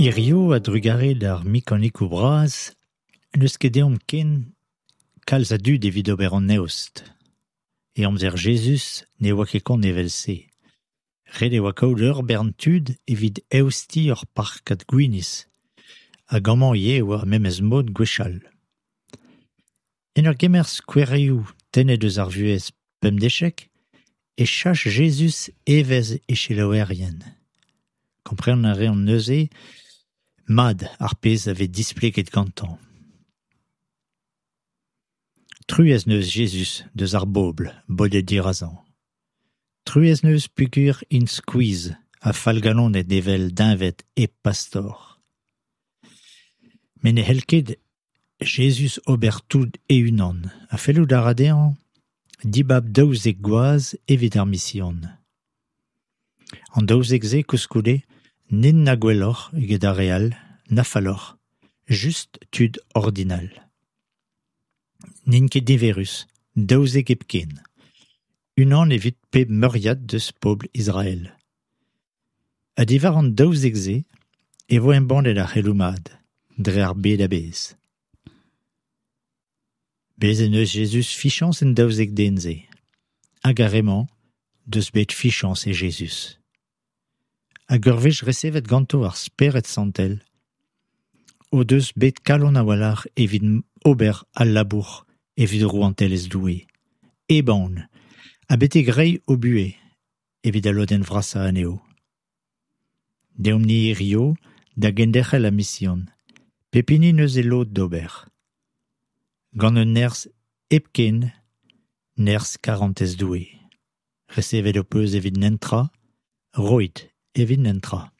Hiziv a-drugarez d'ar mekanikoù bras n'eus ket ezhomm ken kalz a dud evit ober an eost. E amzer Jezuz ne oa ket kont evel-se. Ret e oa kaout ur bern tud evit eostiñ ur parkad gwinizh hag amañ ivez e oa ar memes mod gwechall. En ur gemer skouerioù tennet eus ar vuhez pemdeziek e sach Jezuz evezh e selaouerien. Kompren a reont neuze mat ar pezh a vez displeget gantañ. Truez en deus Jezuz eus ar bobl bodet dirazañ. Truez en deus peogwir int skuizh ha fallgalonet evel deñved hep pastor. Met ne c'hell ket Jezuz ober tout e-unan ha fellout a ra dezhañ dibab daouzek gwaz evit ar mision. An daouzek-se koulskoude n'int na gwelloc'h eget ar re all, na falloc'h, just tud ordinal. N'int ket niverus, daouzek hepken, unan evit pep meuriad eus pobl Israel. Ha diwar an daouzek-se e vo embannet ar c'heloù mat dre ar bed a-bezh. Bez' en deus Jezuz fiziañs en daouzek den-se, hag ar re-mañ deus bet fiziañs e Jezuz. Hag ur wech resevet ganto ar Spered Santel o deus bet kalon a-walc'h evit ober al labour evit rouantelezh Doue, hep aon, ha betek reiñ o buhez evit al lodenn vrasañ anezho. Deomp-ni hiziv da genderc'hel ar mision, pep hini 'neus e lod d'ober. Gant un nerzh hepken, nerzh karantez Doue. Resevet ho peus evit netra, roit evit netra.